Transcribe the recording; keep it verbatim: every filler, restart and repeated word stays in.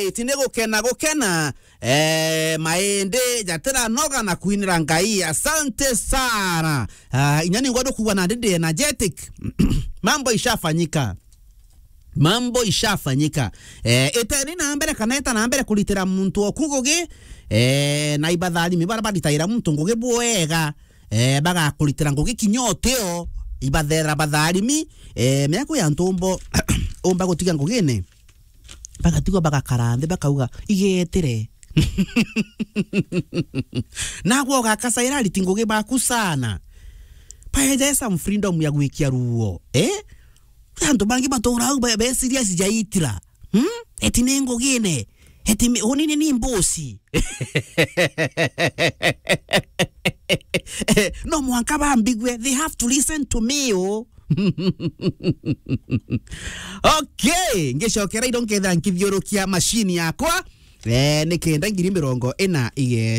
Iti ni gukena, gukena. Eh, maindi jatiranoga na kwinira Ngai. Asante sana. Ah, inya ni ngwenda kuuga na ndi energetic. Mambo ishafanyika. Mambo ishafanyika. Eh, iteni na mbere kana eta na mbere kuritira muntu oku ngugi, eh, na ibatharimi bara baritaira muntu ngugi bwega, eh, bagakuritira ngugi kinya utio, ibathera batharimi, eh, mea kwi antu umbo-, umba gutiga ngugine, bagatigwa bagakara nthi, bakauga, "Igetire." Nagwe ugakacaira ariti ngugi baku sana. Baeje some freedom ya gwikia ruo, eh? Antu bangi batuura au be, be serious jaitira. Hmm? Eti ni ngugine. Eti mi-, unini ni mbusi. No mwanka bambigue, they have to listen to me, oh. Okay, ngicokera indo nketha nkithiurukia machine yakwa. Eh, nikenda ngiri mirongo ina ige-